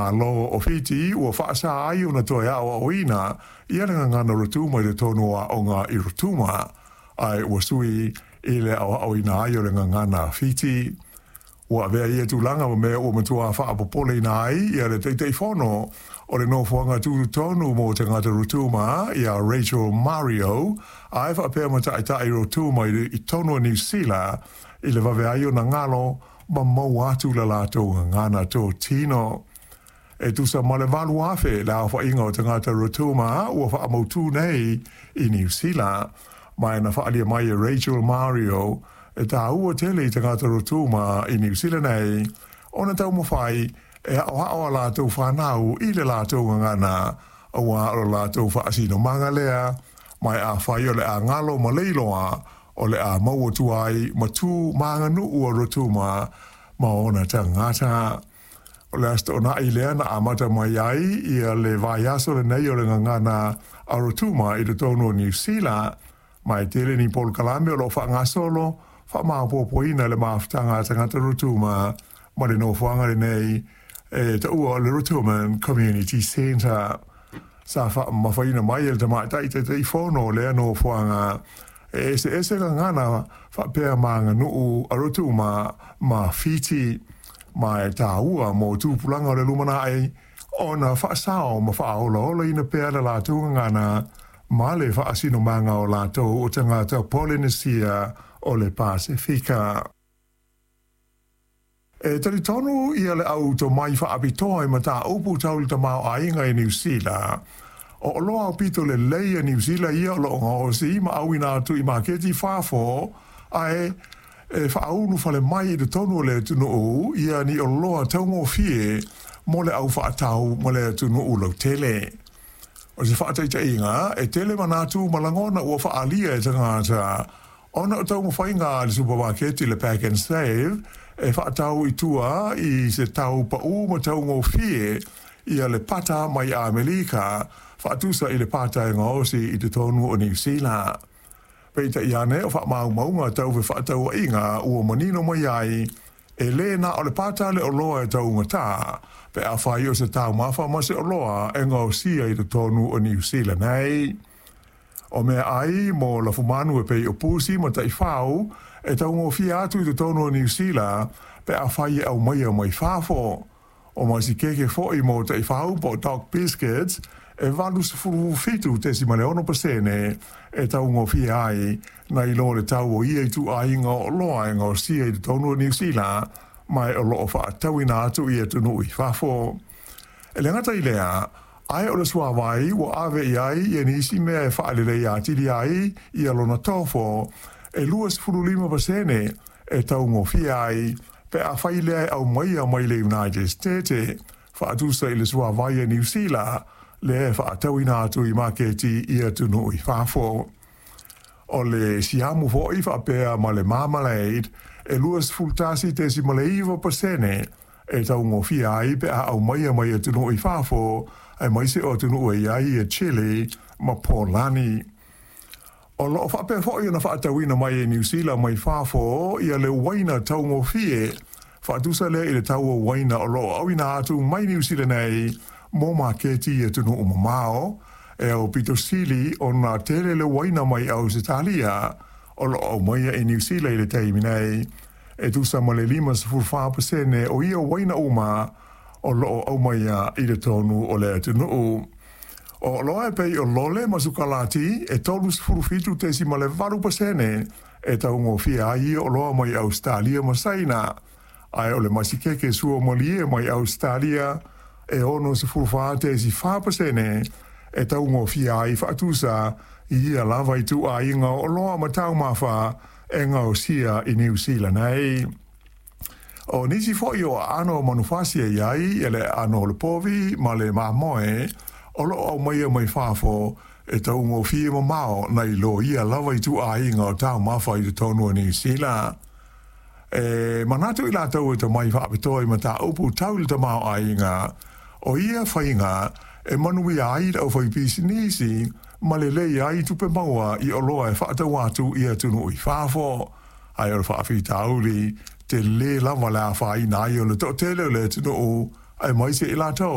Malo o Fiti ua faasā ai ona toe aoaoina ia le gagana Rotuma i totonu o aoga i Rotuma, ae ua sui i le aoaoina ai o le gagana Fiti. Ua avea ia tulaga ma mea ua matua faapopoleina ai ia le Taitaifono o le Nofoaga Tutotonu mo Tagata Rotuma ia Rachel Mario, ae faapea ma taitai Rotuma i totonu o Niu Sila i le vave ai ona galo ma maua atu le latou gagana totino. E tusa ma le 8,000 le aofaiga o tagata Rotuma ua faamautū nei i Niu Sila, ma na faaalia mai e Rachel Mario e tāua tele i tagata Rotuma i Niu Sila nei ona taumafai e aoao a latou fanau i le latou gagana, auā o le latou faasinomaga lea, ma e afai o le a galo ma le iloa, o le a maua atu ai ma tu ma aganuu a Rotuma ma ona tagata. O le Aso Toonai lea na amata mai ai ia le vaiaso lenei o le gagana a Rotuma i totonu o Niu Sila, ma e tele ni polokalame o lo o faagasolo faamaopoopoina le mafutaga a tagata Rotuma ma le nofoaga lenei e taua o le Rotuman Community Centre. Sa faamamafaina mai e le tamaitai Taitaifono o lea nofoaga e eseese gagana faapea ma aganuu a Rotuma ma Fiti, ma e tāua mo tupulaga o le lumanai ona faasao ma faaolaolaina pea le latou gagana ma le faasinomaga o latou o tagata Polenesia o le Pasefika. E talitonu ia le au tomai faapitoa i mataupu tau i le tamaoaiga i Niu Sila, o oloa aupito lelei a Niu Sila ia o lo o gaosi ma auina atu i maketi i fafo, ae e faaulufale mai i totonu o le atunuu ia ni oloa taugofie mo le au faatau ma le atunuu lautele. O se faataitaiga, e tele manatu ma lagona ua faaalia e tagata ona o taumafaiga a le supamaketi le Pack and Save e faatau i tua i se tau paū ma taugofie ia le pata mai Amerika faatusa i le pata e gaosi i totonu o Niu Sila. Peitai ane o faamaumauga tau fefaatauaiga ua manino mai ai e lē na o le pata le oloa e taugatā pe afai o se taumafa ma se oloa e gaosia i totonu o Niu Sila nei. O meaai mo lafumanu e pei o pusi ma taifau e taugofie atu i totonu o Niu Sila pe afai e aumaia mai fafo. O masikeke foi mo taifau po o dog biscuits e 87.6% e taugofie ai nai lo le tau o ia ituaiga o oloa e gaosia i totonu o Niu Sila ma e o lo o faatauina atu i atunuu i fafo. E le gata i lea, ae o le suāwai ua ave i ai ia nisi mea e faaleleia atili ai ia lona tofo e 25% e taugofie ai pe afai lea e aumaia mai le United States faatusa i le suāwai a Niu Sila lea e faatauina atu i maketi i atunuu i fafo. O le siamu foi faapea ma le marmalade e 21.9% e taugofie ai pe a aumaia mai atunuu i fafo, aemaise o atunuu e i ai ia Chile ma Polani. O lo o faapea foi ona faatauina mai e Niu Sila mai fafo ia le uaina taugofie faatusa lea i le tau o uaina o lo o auina atu mai Niu Sila nei mo maketi i atunuu mamao, e aupito sili ona tele le uaina mai Ausetalia o lo o aumaia i Niu Sila i le taimi nei, e tusa ma le 54% o ia uaina uma o lo o aumaia i totonu o le atunuu. O oloa e pei o lole ma sukalati e 37.8% e taugofie ai ia oloa mai Ausetalia ma Saina, ae o le masikeke suamalie mai Ausetalia e 64.4% e taugofie ai faatusa i ia lava ituaiga o oloa ma taumafa e gaosia i Niu Sila nei. O nisi foi o aano o manufasi e i ai ia le aano o le povi ma le mamoe o lo o aumaia mai fafo e taugofie mamao nai lo ia lava ituaiga o taumafa i totonu o Niu Sila. E manatu i latou e tomai faapitoa i mataupu tau i le tamaoaiga, o ia faiga e manuia ai le aufaipisinisi ma lelei ai tupe maua i oloa e faatau atu i atunuu i fafo. Ae o le faafitauli, tele lava le afaina ai o le toatele o le atunuu Aemaise i latou.